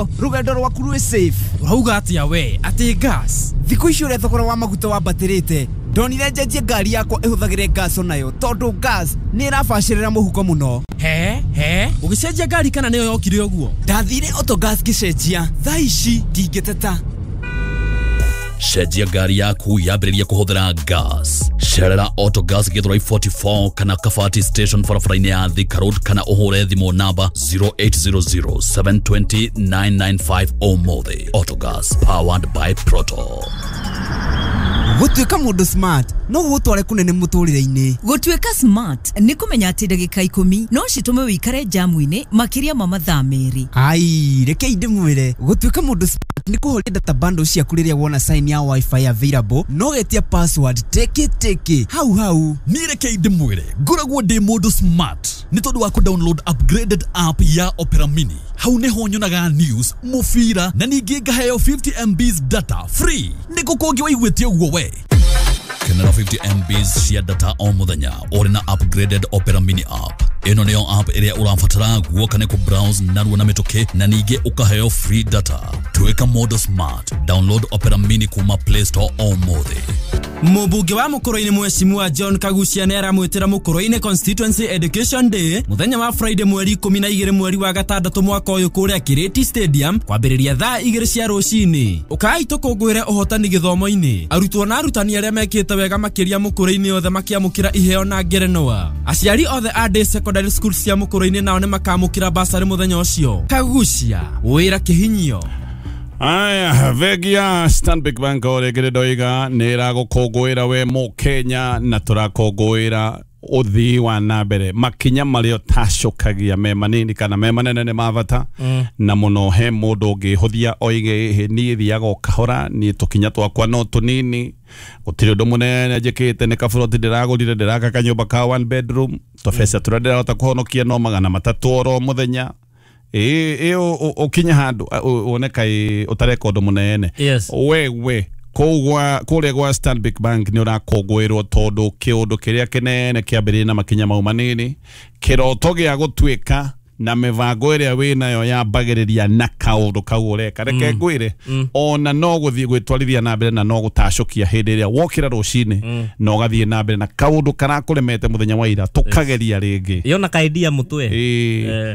Rũgendo rwaku rwĩ safe. Ũrauga atĩa we atĩ gas? Thikũ ici ũrĩa thogora wa maguta wambatĩrĩte, ndonire njenjie ngari yakwa ĩhũthagĩre gas onayo, tondũ gas nĩ ĩrabacĩrĩra mũhuko mũno. He he, ũgĩcenjia ngari kana nĩyo yokire ũguo? Ndathire Autogas ngĩcenjia, thaa ici ndingĩteta. Cenjia ngari yaku yambĩrĩrie kũhũthĩra gas. Cerera Autogas Githurai 44 kana Kabati Station barabara-inĩ ya Thika Road, kana ũhũre thimũ namba 0800 720 995 ũmũthĩ. Autogas, powered by Proto. Gũtuĩka mũndũ smart no gũgũtware kũnene mũtũrĩre-inĩ. Gũtuĩka smart nĩ kũmenya atĩ ndagĩka 10 no citũme wĩikare jamu-inĩ makĩria ma mathaa 2. Ai, rekei ndĩmwĩre, gũtuĩka mũndũ smart nĩ kũhoria data bundle ciaku rĩrĩa wona sign ya wifi available, no getia password teke teke hau hau. Niĩ rekei ndĩmwĩre, ngoragwo ndĩ mũndũ smart nĩ tondũ wa kũ-download upgraded app ya Opera Mini. Hau nĩho nyonaga news, mũbira, na ningĩ ngaheo 50 MBs data free. Nĩ kũ kũngĩ waiguĩte ũguo we? Kenera 50 MBs cia data o mũthenya ũrĩ na upgraded Opera Mini app. Ĩno nĩyo app ĩrĩa ũrabatara guoka nĩ kũ-browse narua na mĩtũkĩ, na ningĩ ũkaheo free data. Tuĩka mũndũ smart, download Opera Mini kuma Play Store ũmũthĩ. Mũmbunge wa Mũkũrũ-inĩ Mheshimiwa John Kagucia nĩ aramwĩtĩra Mũkũrũ-inĩ Constituency Education Day mũthenya wa Friday mweri 12 mweri wa gatandatũ mwaka ũyũ kũrĩa Kirĩti Stadium kwambĩrĩria thaa 2 cia rũcinĩ. Ũkai tũkũngũĩre ũhotani gĩthomo-inĩ. Arutwo na arutani arĩa mekĩte wega makĩria Mũkũrũ-inĩ othe makĩamũkĩra iheo na ngerenwa. Aciari othe a day secondary school cia Mũkũrũ-inĩ nao nĩ makamũkĩra basarĩ mũthenya ũcio. Kagucia, wĩra kĩhinyio. Aya, bengi ya Stanbic Bank o rĩngĩ ndoiga nĩ ĩragũkũngũĩra we Mũkenya, na tũrakũngũĩra ũthii wa na mbere. Makinya marĩa ũtacũkagia me manini kana me manene nĩ ma bata, na mũno he mũndũ ũngĩhũthia oige ĩhĩ, niĩ thiaga o kahora, niĩ tũkinya twakwa no tũnini, gũtirĩ ũndũ mũnene njĩkĩte, nĩ kaburoti ndĩragũrire, ndĩraka kanyũmba ka one bedroom, tũbeca tũrĩa ndĩrahota kũhonokia no 300 oro mũthenya. Ĩ ũkinye handũ wone kaĩ ũtareka ũndũ mũnene. Yes. Wewe kũrĩa gwa Stanbic Bank nĩ ũrakũngũĩrwo tondũ kĩũndũ kĩrĩa kĩnene kĩambĩrĩria na makinya mau manini, kĩroto gĩa gũtuĩka na mĩbango ĩrĩa wĩnayo yambagĩrĩria na kaũndũ kau ũreka. Reke ngwĩre, ona no gũthiĩ gwĩtwarithia na mbere na no gũtacũkia hĩndĩ ĩrĩa wokĩra rũcinĩ na ũgathiĩ na mbere na kaũndũ karakũremete mũthenya wa ira tũkageria rĩngĩ. Yona kaidia mũtwe.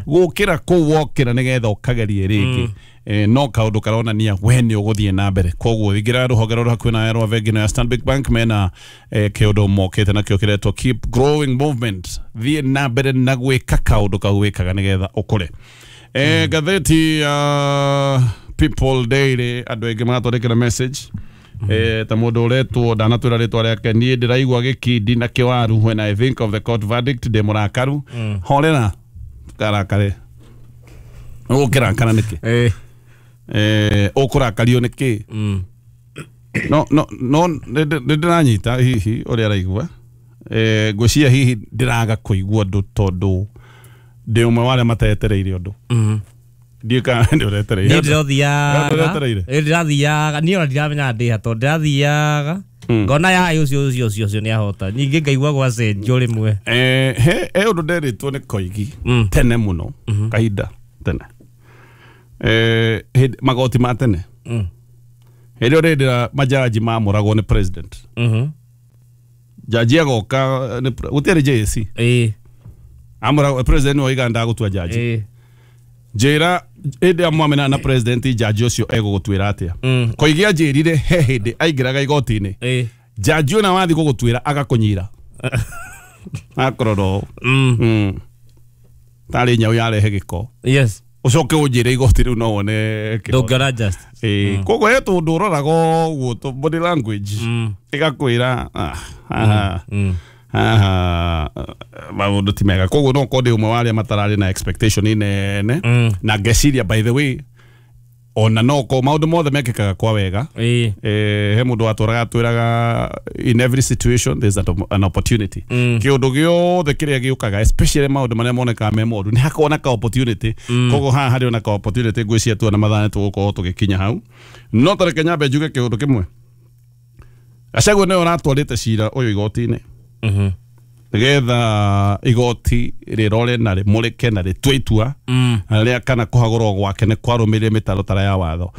Gũkĩra kũu wokĩra nĩgetha ũkagerie rĩngĩ. No kaũndũ karonania we nĩ ũgũthiĩ na mbere. Koguo ingĩra rũhonge rũrũ hakuhĩ nawe rwa bengi ĩno ya Stanbic Bank, mena kĩũndũ mokĩte nakĩo kĩretwo Keep Growing Movement. Thiĩ na mbere na gwĩka kaũndũ kau wĩkaga nĩgetha ũkũre. Ngathĩti ya People Daily, andũ aingĩ magatwandĩkĩra message. Ta mũndũ ũretwo ndanatwĩra rĩtwa rĩake, niĩ ndĩraigua gĩkindi na kĩwaru when I think of the court verdict, ndĩ mũrakaru. Horera, ndũkarakare. Ũgũkĩrakara nĩkĩ? Ũkũrakario nĩkĩ? No no no nĩ ndĩranyita hihi ũrĩa araigua. Ngwĩciria hihi ndĩraga kũigua ũndũ tondũ ndĩ ũmwe wa arĩa matetereire ũndũ. Ndiũĩ kana nĩ ũretereire. Niĩ ndĩrothiaga. Ũretereire? Ndĩrathiaga, niĩ ona ndiramenya ndĩ ha tondũ ndĩrathiaga ngona ya ũcio ũcio ũcio ũcio nĩ ahota. Ningĩ ngaigua gwacenjio rĩmwe. He ũndũ nderĩtwo nĩ Koigi tene mũno, kahinda tene. Magoti ma tene. Hĩndĩ ĩyo rĩndĩ majaji mamũragwo nĩ president. Jaji agoka gũtiarĩ JSC. Amũragwo president nĩwe oiga ndagũtua jaji. Njĩra hĩndĩ ĩrĩa mwamenana na president, jaji ũcio egũgũtuĩra atĩa? Koigi anjĩrire he hĩndĩ aingĩraga igoti-inĩ, jaji ũna wathiĩ gũgũtuĩra agakũnyira. Akorora ũũ. Tarĩ nyau yarehe gĩko. Yes. Ũcoke ũnjĩre igoti rĩu no wone kĩhoto. Ndũngĩona just. Koguo he tũndũ ũroraga ũguo body language ĩgakwĩra haha haha maũndũ ti mega. Koguo no korwo ndĩ ũmwe wa arĩa matararĩ na expectation nene, na ngeciria by the way ona no ko maũndũ mothe mekĩkaga kwa wega. He mũndũ watũraga atwĩraga in every situation there's an opportunity. Kĩũndũ gĩothe kĩrĩa gĩũkaga, especially maũndũ marĩa monekaga me moru, nĩ hakoragwo na ka opportunity. Koguo haha harĩ ona ka opportunity, ngwĩciria tuona mathaa nĩ tũgũkorwo tũgĩkinya hau. No ta reke nyambe njuge kĩũndũ kĩmwe. Gachagua nĩwe ũratwarĩte cira ũyũ igoti-inĩ. Nigetha igoti rirore na rimurike na ritue itua rĩa kana kũhagũrwo gwake nĩ kwarũmĩrĩire mĩtaratara ya watho.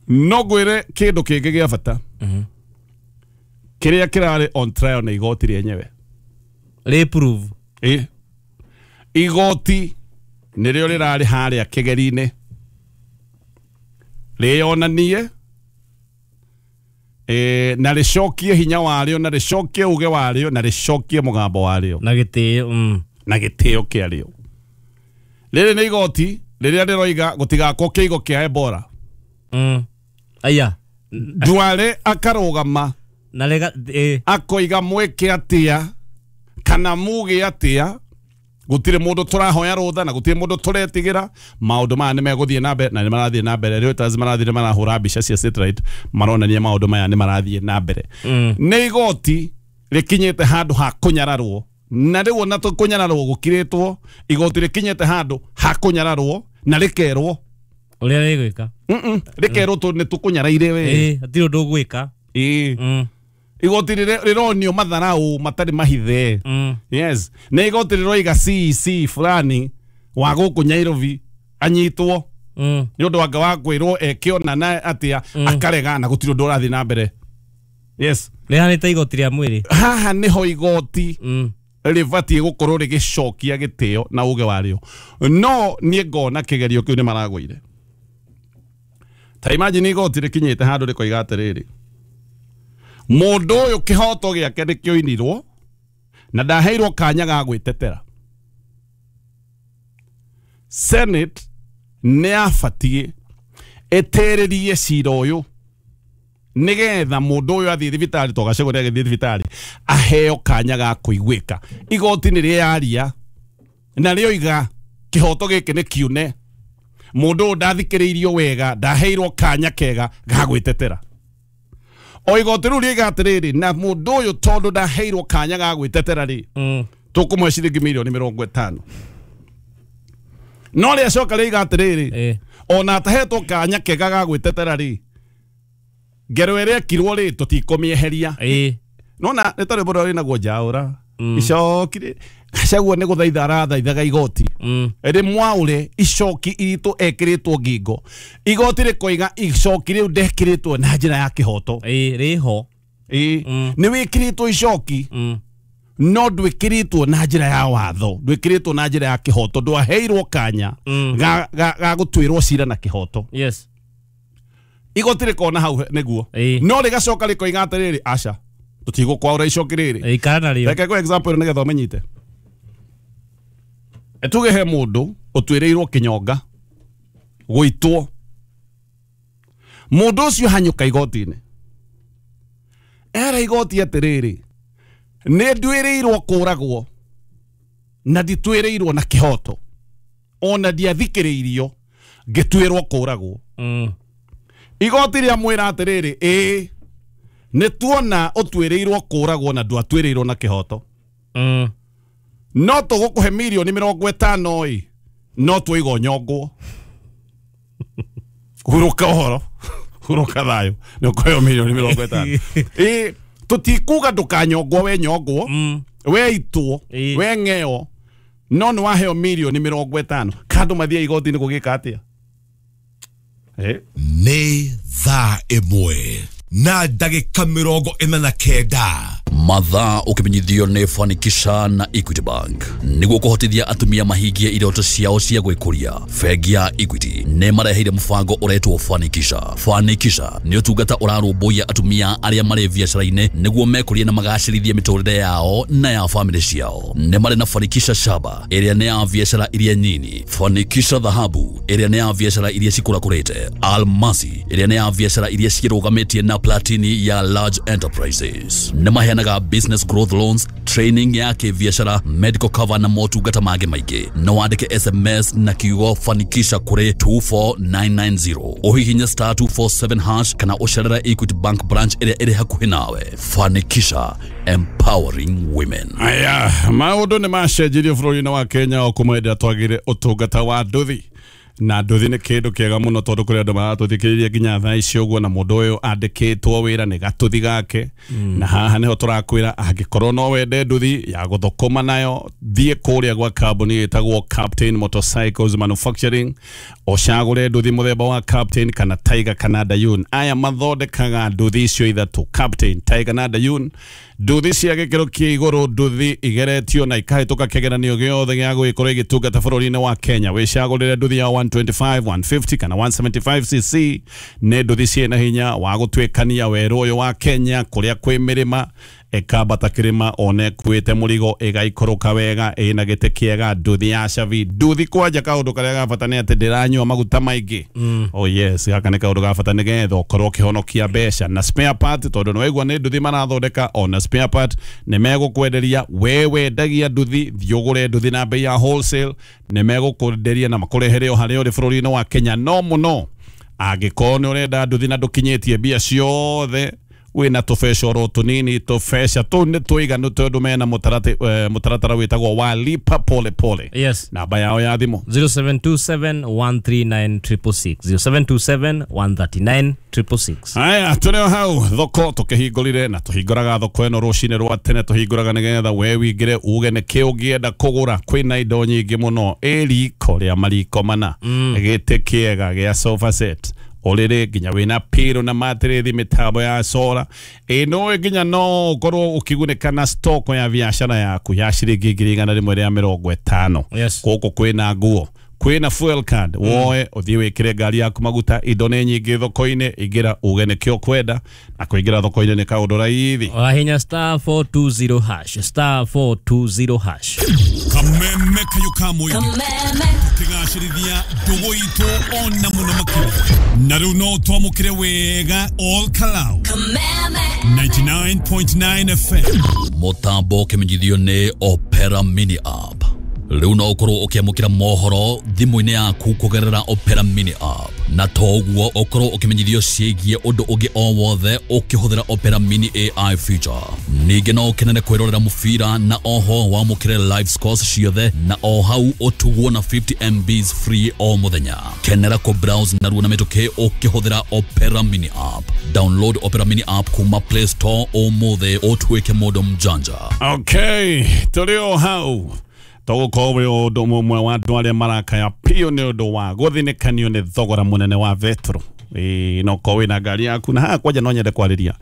No ngwĩre kĩndũ kĩngĩ gĩa bata kĩrĩa kĩrarĩ on trial nĩ igoti rĩenyewe. Rĩ-prove. Igoti nĩrĩo rĩrarĩ harĩa kĩgeri-inĩ rĩonanie na rĩcokie hinya warĩo na rĩcokie uge warĩo na rĩcokie mũgambo warĩo na gĩtĩo na gĩtĩo kĩarĩo. Rĩrĩ nĩ igoti rĩrĩa rĩroiga gũtigakwo kĩigo kĩa Ebola. Aya Duale akarũgama na rega akoiga mwĩke atĩa kana muge atĩa, gũtirĩ mũndũ tũrahoya rũtha na gũtirĩ mũndũ tũretigĩra. Maũndũ maya nĩ megũthiĩ na mbere na nĩ marathiĩ na mbere. Reuters marathiĩ marahũra mbica cia satellite maronania maũndũ maya nĩ marathiĩ na mbere. Nĩ igoti rĩkinyĩte handũ ha kũnyararwo, na rĩu ona kũnyararwo gũkirĩtwo, igoti rĩkinyĩte handũ ha kũnyararwo na rĩkerwo ũrĩa rĩgwĩka. Rĩkerwo nĩ tũkũnyaraire we. Hatirĩ ũndũ ũgwĩka. Igoti rĩronio matharau matarĩ mahithe. Yes, nĩ igoti rĩroiga CEC fulani wa gũkũ Nairobi anyitwo nĩ ũndũ wanga wa kwĩrwo ekĩona na atĩa akarega na gũtirĩ ũndũ ũrathiĩ na mbere. Yes, rĩhanĩte igoti rĩa mwĩrĩ. Haha nĩho igoti rĩbatiĩ gũkorwo rĩgĩcokia gĩtĩo na uge warĩo. No niĩ ngona kĩgerio kĩu nĩ maragũire. Ta imagine igoti rĩkinyĩte handũ rĩkoiga atĩrĩrĩ, mũndũ ũyũ kĩhoto gĩake nĩkĩoinirwo na ndaheirwo kanya ga gwĩtetera. Senate nĩ yabatiĩ ĩtĩrĩrie cira ũyũ nĩgetha mũndũ ũyũ athiĩ thibitarĩ, to Gachagua nĩagĩthiĩ thibitarĩ aheo kanya ga kũiguĩka. Igoti nĩ rĩaria na rĩoiga kĩhoto gĩkĩ nĩ kiune, mũndũ ũyũ ndathikĩrĩirio wega, ndaheirwo kanya kega ga gwĩtetera. O igoti rĩu rĩiga atĩrĩrĩ, na mũndũ ũyũ tondũ ndaheirwo kanya ga gwĩtetera rĩ, tũkũmũhe ciringi mirioni 50. No rĩacoka rĩiga atĩrĩrĩ, ona atahetwo kanya kega ga gwĩtetera rĩ, ngero ĩrĩa ĩkirwo rĩ tũtikũmĩeheria. Nona nĩ ta rwĩmbo rũrĩa rwĩnagwo njaũra icoki rĩ, Gachagua nĩ gũthaitha arathaithaga igoti rĩmwaũre icoki iritũ ekĩrĩtwo ngingo. Igoti rĩkoiga icoki rĩu ndekĩrĩtwo na njĩra ya kĩhoto. Rĩho nĩ wĩkĩrĩtwo icoki no ndwĩkĩrĩtwo na njĩra ya watho, ndwĩkĩrĩtwo na njĩra ya kĩhoto, ndwaheirwo kanya ga gũtuĩrwo cira na kĩhoto. Yes, igoti rĩkona hau nĩguo, no rĩgacoka rĩkoiga atĩrĩrĩ, aca tũtigũkwaũra icoki rĩrĩ. Ikara narĩo. Reke ngũhe example nĩgetha ũmenyite. Tuge he mũndũ ũtuĩrĩirwo kĩnyonga gũitwo, mũndũ ũcio hanyũka igoti-inĩ era igoti atĩrĩrĩ, nĩ nduĩrĩirwo kũragwo na ndituĩrĩirwo na kĩhoto, ona ndiathikĩrĩirio ngĩtuĩrwo kũragwo. Igoti rĩamwĩra atĩrĩrĩ, ĩĩ nĩ tuona ũtuĩrĩirwo kũragwo na ndwatuĩrĩirwo na kĩhoto, no tũgũkũhe mirioni 50 ĩ, no twaiga ũnyongwo. Hurũka ũhoro, hurũka thayũ, nĩ ũkũheo mirioni 50. Ĩ tũtikuga ndũkanyongwo, we nyongwo, we itwo, we ng'eo, no nĩ waheo mirioni 50. Kandũ mathiĩ igoti-inĩ gũgĩka atĩa? Nĩ thaa 1 na ndagĩka 49. Mathaa ũkĩmenyithio nĩ Fanikisha na Equity Bank nĩguo kũhotithia atumia mahingie iroto ciao cia gwĩkũria. Bengi ya Equity nĩ mareheire mũbango ũretwo Fanikisha. Fanikisha nĩ ũtungata ũrarũmbũiya atumia arĩa marĩ biacara-inĩ nĩguo mekũrie na magacĩrithie mĩtũrĩre yao na ya famĩlĩ ciao. Nĩ marĩ na Fanikisha Shaba ĩrĩa nĩ ya biacara iria nyini, Fanikisha Dhahabu ĩrĩa nĩ ya biacara iria cikũrakũrĩte, Almasi ĩrĩa nĩ ya biacara iria cirũgamĩtie na Platini ya large enterprises. Nĩ maheanaga business growth loans, training ya kĩbiacara, medical cover na motungata mangĩ maingĩ. No wandĩke SMS na kiugo Fanikisha kũrĩ 24990, ũhihinye star 247 hash kana ũcerere Equity Bank branch ĩrĩa ĩrĩ hakuhĩ nawe. Fanikisha, empowering women. Aya, maũndũ nĩ macenjirio bũrũri-inĩ wa Kenya o kuma hĩndĩ ĩrĩa twagĩire ũtungata wa nduthi. Na nduthi nĩ kĩndũ kĩega mũno tondũ kũrĩ andũ maratũthikĩrĩria nginya thaa ici ũguo, na mũndũ ũyũ andĩkĩtwo wĩra nĩ gatũthi gake. Na haha nĩho tũrakwĩra angĩkorwo no wende nduthi ya gũthũkũma nayo, thiĩ kũrĩa gwa kambuni ĩtagwo Captain Motorcycles Manufacturing, ũcagũre nduthi mũthemba wa Captain kana Tiger kana Dayun. Aya mathondekaga nduthi icio ithatũ, Captain, Tiger na Dayun, nduthi cia gĩkĩro kĩa igũrũ, nduthi igeretio na ikahĩtũka kĩgeranio gĩothe gĩa gũgĩkorwo igĩtungata bũrũri-inĩ wa Kenya. Wĩcagũrĩre nduthi ya 125, 150 kana 175cc. Nĩ nduthi ciĩna hinya wa gũtuĩkania werũ ũyũ wa Kenya kũrĩa kwĩ mĩrĩma, ĩkambata kĩrĩma one ĩkuĩte mũrigo, ĩgaikũrũka wega, ĩna gĩtĩ kĩega, nduthi ya cabi. Nduthi kwanja kaũndũ karĩa ga bata nĩ atĩ ndĩranyua maguta maingĩ. Oh yes, gaka nĩ kaũndũ ga bata nĩgetha ũkorwo ũkĩhonokia mbeca. Na spare part, tondũ nĩwaigua nĩ nduthi marathondeka, ona spare part nĩ megũkwenderia. We wendagia nduthi, thiĩ ũgũre nduthi na bei ya wholesale, nĩ megũkwenderia na makũrehere o harĩa ũrĩ bũrũri-inĩ wa Kenya. No mũno angĩkorwo nĩ ũrenda nduthi na ndũkinyĩtie mbia ciothe, wĩna tũbeca oro tũnini, tũbeca tũu nĩ tũiganu tondũ mena mũtaratara wĩtagwo wa lipa pole pole. Yes. Namba yao ya thimũ 0727 139 666, 0727 139 666. Aya, tũrĩ o hau thoko tũkĩhingũrire, na tũhingũraga thoko ĩno rũcinĩ rwa tene, tũhingũraga nĩgetha we wingĩre uge nĩkĩ ũngĩenda kũgũra. Kwĩna indo nyingĩ mũno, ĩ riko rĩa mariko mana, gĩtĩ kĩega gĩa sofa set, ũrĩrĩ nginya wĩna piro na matĩrĩthi, mĩtambo ya sora ĩno, nginya no ũkorwo ũkĩgunĩka na stock ya biacara yaku ya ciringi 150,000. Yes. Gũkũ kwĩna nguo, kwĩna fuel card, woe ũthiĩ wĩkĩre ngari yaku maguta. Indo nĩ nyingĩ thoko-inĩ, ingĩra uge nĩkĩo ũkwenda, na kũingĩra thoko-inĩ nĩ kaũndũ raithi. Wahinya star 420 hash, star 420 hash. Kameme kayo ka mũingĩ tũkĩgacĩrithia ndũgũ itũ ona mũno makĩria, na rĩu no twamũkĩre wega all Kalau 99.9 FM. Mũtambo ũkĩmenyithio nĩ Opera Mini App. Rĩu no ũkorwo ũkĩamũkĩra mohoro thimũ-inĩ yaku kũgerera Opera Mini App, na toguo ũkorwo ũkĩmenyithio ciĩgiĩ ũndũ ũngĩ o wothe ũkĩhũthĩra Opera Mini AI feature. Ningĩ no ũkenere kwĩrorera mũbira na oho wamũkĩre live scores ciothe, na o hau ũtugwo na 50 MBs free o mũthenya. Kenera kũ browse narua na mĩtũkĩ ũkĩhũthĩra Opera Mini App. Download Opera Mini App kuma Play Store ũmũthĩ ũtuĩke mũndũ mjanja. Okay, tũrĩ o hau tũgũkorwo wĩ ũndũ ũmwe wa andũ arĩa marakaya piũ nĩ ũndũ wa gũthinĩkanio nĩ thogora mũnene wa betro. No ũkorwo wĩna ngari yaku, na haha kwanja no nyende kwarĩria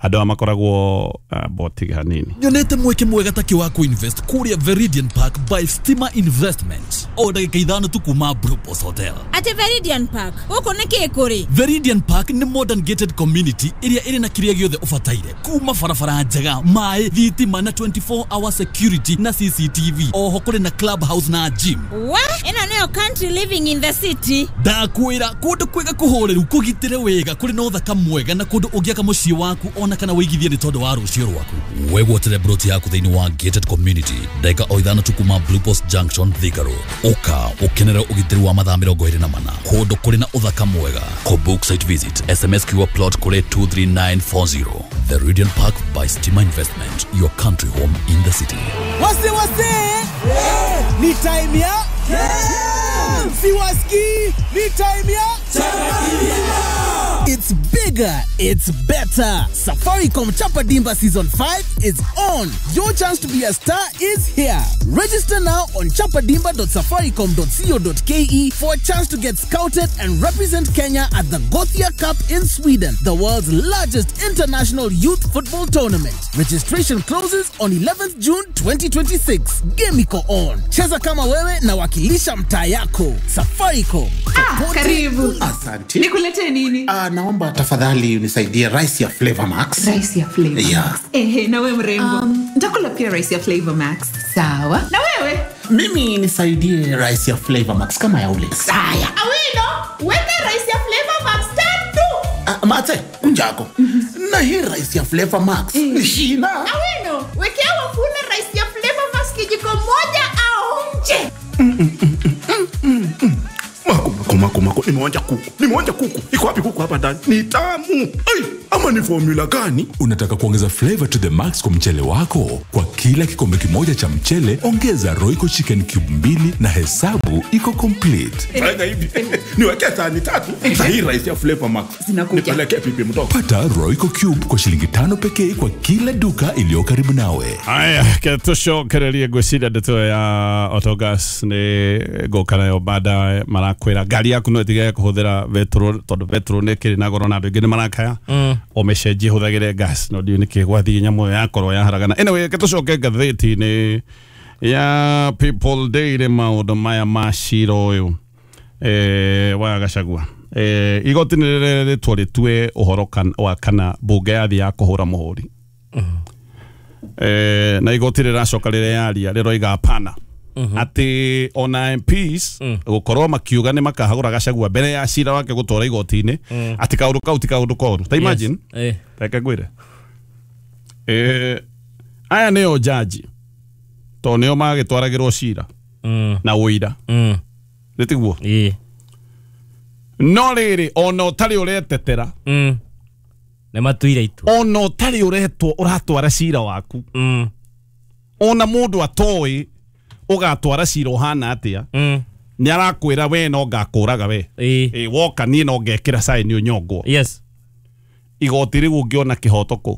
andũ aya makoragwo botiga hanini. Nyonete mweke mwega taki wa kuinvest kuria Veridian Park by Stima Investment, o ndagĩka 5 tu kuma Blue Post Hotel. Atĩ Veridian Park gũkũ nĩ kĩ kũrĩ? Veridian Park nĩ modern gated community ĩrĩa ĩrĩ na kĩrĩa gĩothe ũbataire, kuma barabara njega, maĩ, thitima na 24 hour security na CCTV. Oho kũrĩ na club house na gym. Wa ĩno nĩyo country living in the city. Ndakwĩra kũndũ kwega kũhoreru, kũgitĩre wega, kũrĩ na ũthaka mwega, na kũndũ ũngĩaka mũciĩ waku ona kana wĩigithie nĩ tondũ wa rũciũ rwaku. Wegwatĩre broti yaku thĩinĩ wa gated community ndagĩka o 5 tu kuma Blue Post Junction, Thika Road. Ũka ũkenere ũgitĩri wa mathaa 24 kũndũ kũrĩ na ũthaka mwega. Kũbook site visit SMS QR plot kũrĩ 23940. Veridian Park by Stima Investment, your country home in the city. Wase wase, ni time ya siwaski, ni time ya It's bigger, it's better. Safaricom Chapa Dimba Season 5 is on. Your chance to be a star is here. Register now on chapadimba.safaricom.co.ke for a chance to get scouted and represent Kenya at the Gothia Cup in Sweden, the world's largest international youth football tournament. Registration closes on 11th June 2026. Game iko on. Cheza kama wewe na wakilisha mtaa yako. Safaricom. Karibu. Asante. Nikulete nini? Naomba tafadhali unisaidie rice ya Flavor Max. Rice ya Flavor Max. Yeah. Ehe, na wewe mrembo. Nitakula pia rice ya Flavor Max. Sawa. Na wewe? Mimi nisaidie rice ya Flavor Max kama ya ule. Saya. Awino, weka rice ya Flavor Max tatu. Mate, unjako. Na hii rice ya Flavor Max. Shina. Awino, wekea wafuna rice ya Flavor Max kijiko moja aonje. Mako mako, nimeonja kuku. Nimeonja kuku. Iko wapi kuku hapa ndani? Ni tamu. Ai, ama ni formula gani? Unataka kuongeza flavor to the max kwa mchele wako? Kwa kila kikombe kimoja cha mchele, ongeza Royco Chicken Cube 2 na hesabu iko complete. Fanya hivi. Niwekee sahani tatu. Hii rice ya Flavor Max. Nipeleke pipi mtoto. Pata Royco Cube kwa shilingi 5 pekee kwa kila duka iliyo karibu nawe. Aya, tucokererie ngwĩciria ndeto ya Autogas nĩ ngũka nayo baadaye marakwĩra ngari yaku no ĩtige kũhũthĩra petrol tondũ petrol nĩ ĩkĩrĩ na goro na andũ aingĩ nĩ marakaya ũmĩcenjie hũthagĩre gas no ndiũĩ nĩkĩ gwathiĩ nyamũ ĩyo yakorwo yaharagana. Anyway, reke tũcoke ngathĩti-inĩ ya People Daily maũndũ maya ma cira ũyũ wa Gachagua. Igoti nĩ rĩrĩtwo rĩtue ũhoro wa kana mbunge yathiĩ ya kũhũra mũhũri. Na igoti rĩracoka rĩreyaria rĩroiga hapana atĩ ona MPs gũkorwo makiuga nĩ makahagũra Gachagua mbere ya cira wake gũtwara igoti-inĩ atĩ kaũndũ kau ti kaũndũ koru. Ta imagine, reke ngwĩre, aya nĩo jaji tondũ nĩo magĩtwaragĩrwo cira na ũira nĩ tiguo? No rĩrĩ ona ũtarĩ ũretetera nĩ matuire itua ona ũtarĩ ũretwo ũratwara cira waku ona mũndũ atoĩ ũgatwara cira ũhana atĩa nĩ arakwĩra we no ngakũraga we woka niĩ no ngekĩra sign ũnyongwo. Yes. Igoti rĩu ũngĩona kĩhoto kũ?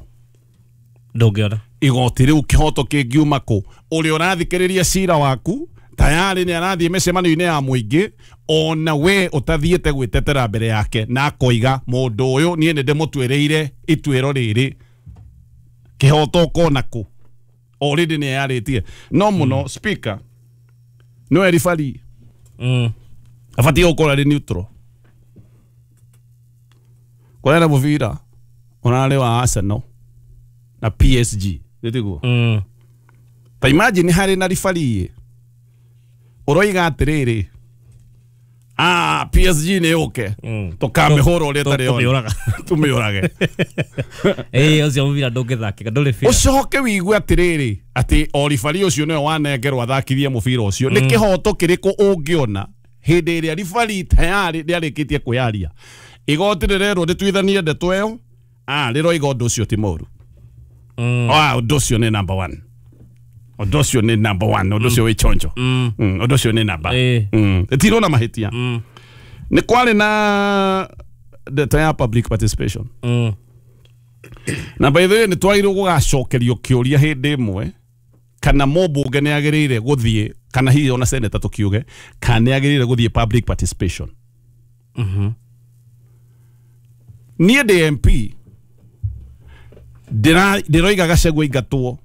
Ndũngĩona. Igoti rĩu kĩhoto kĩngiuma kũ? Ũrĩa ũrathikĩrĩria cira waku tayari nĩ arathiĩ mĩcemanio-inĩ ya mũingĩ ona we ũtathiĩte gwĩtetera mbere yake na akoiga mũndũ ũyũ niĩ nĩ ndĩmũtuĩrĩire ituĩro rĩrĩ kĩhoto ũkona kũ? Already nĩ yarĩtie no mũno speaker no eribari abatiĩ gũkorwo arĩ neutral. Kũrera mũbira ũrarĩ wa Arsenal na PSG nĩ tiguo? Ta imagine harĩ na ribari ũroiga atĩrĩrĩ PSG nĩ yũke tũkamĩhũra ũrĩa ĩtarĩ yona tũmĩũrage. Ũcio mũbira ndũngĩthakĩka ndũrĩ fair. Ũcoke wĩigue atĩrĩrĩ atĩ o ribari ũcio nĩwe wanengerwo athakithie mũbira ũcio. Nĩ kĩhoto kĩrĩkũ ũngĩona hĩndĩ ĩrĩa ribari tayari nĩarĩkĩtie kwĩyaria? Igoti rĩrerwo rĩtuithanie ndeto ĩyo rĩroiga ũndũ ũcio ti mũru. Ũndũ ũcio nĩ number 1. Ũndũ ũcio nĩ number 1, ũndũ ũcio wĩ chonjo. Ũndũ ũcio nĩ namba. Ĩtirwo na mahĩtia. Nĩ kwarĩ na ndeto ya public participation. Na by the way nĩ twagĩrĩirwo gũgacokerio kĩũria hĩndĩ ĩmwe kana mũmbunge nĩ agĩrĩire gũthiĩ kana hihi ona senator tũkiuge kana nĩ agĩrĩire gũthiĩ public participation. Niĩ ndĩ MP ndĩroiga Gachagua aingatwo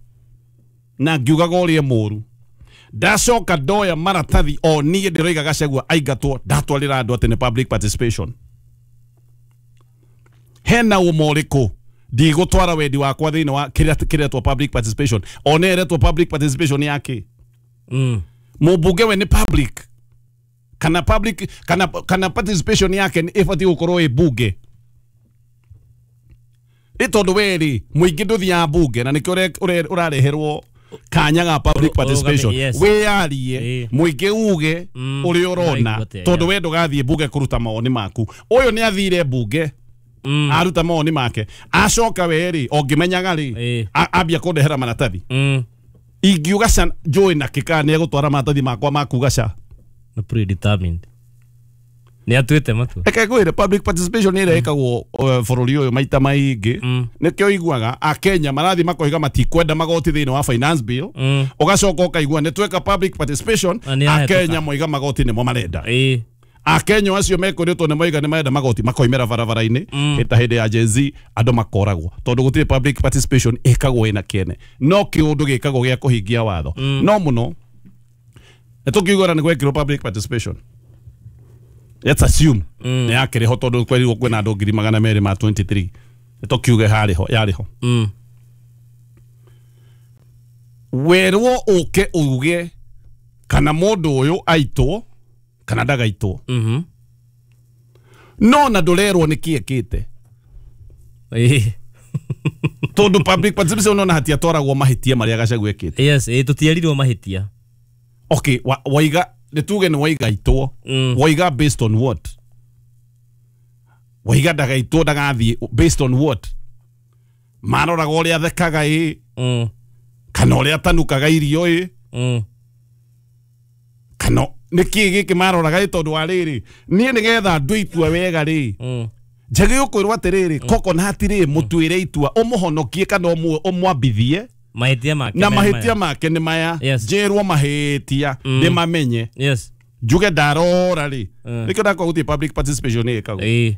na ngiugaga ũrĩa mũru ndacoka ndoya maratathi o niĩ ndĩroiga Gachagua aingatwo ndatwarĩra andũ atĩ nĩ public participation. Hena ũma ũrĩkũ ndigũtwara wendi wakwa thĩinĩ wa kĩrĩa kĩretwo public participation o nĩ ĩretwo public participation yake? Mũmbunge we nĩ public kana public kana participation yake nĩ ĩbatiĩ gũkorwo ĩ bunge? Nĩ tondũ we rĩ mũingĩ ndũthiaga bunge na nĩkĩo ũrareherwo kanya ga public participation. Wĩyarie mũingĩ uge ũrĩa ũrona tondũ we ndũgathiĩ bunge kũruta mawoni maku. Ũyũ nĩ athire bunge aruta mawoni make acoka we rĩ ũngĩmenyaga rĩ ambia kũndehera maratathi ingiuga ca njũĩ na kĩkaa nĩ egũtwara maratathi makwa ma kuga ca nĩ predetermined nĩ atuĩte matua. Reke ngwĩre public participation nĩ ĩrĩa ĩkagwo bũrũri ũyũ maita maingĩ nĩkĩo iguaga akenya marathiĩ makoiga matikwenda magoti thĩinĩ wa finance bill ũgacoka ũkaigua nĩ tweka public participation akenya moiga magoti nĩmo marenda. Akenya acio mekwĩrĩtwo nĩ moiga nĩ marenda magoti makoimĩra barabara-inĩ ta hĩndĩ ya Gen Z andũ makoragwo tondũ gũtirĩ public participation ĩkagwo ĩna kĩene no kĩũndũ gĩkagwo gĩa kũhingia watho. No mũno nĩ tũkiuga nĩ gwekĩrwo public participation let's assume nĩ yakĩrĩ ho tondũ kwerirwo kwĩna andũ 223 nĩ tũkiuge harĩ ho yarĩ ho. Werwo ũke uge kana mũndũ ũyũ aitwo kana ndagaitwo no na ndũrerwo nĩ kĩ ekĩte tondũ public participation no na hatiatwaragwo mahĩtia marĩa Gachagua ekĩte. Yes, tũtierirwo mahĩtia. Okay, waiga nĩ tuge nĩ waiga itwo waiga based on what? Waiga ndagaitwo ndagathiĩ based on what? Maroraga ũrĩa athekaga ĩ, kana ũrĩa atanukaga irio ĩ, kana nĩkĩ gĩkĩ maroraga ĩ, tondũ wa rĩrĩ niĩ nĩgetha ndue itua wega rĩ, njagĩrĩirwo kwĩrwo atĩrĩrĩ, coconut rĩ, mũtuĩre itua ũmũhonokie kana ũmwambithie mahĩtia make na me mahĩtia maya. make nĩ maya. Yes. Njĩrwo mahĩtia ndĩmamenye, Yes. njuge ndarora rĩ, nĩkĩo ndakwa gũthiĩ public participation ĩkagwo.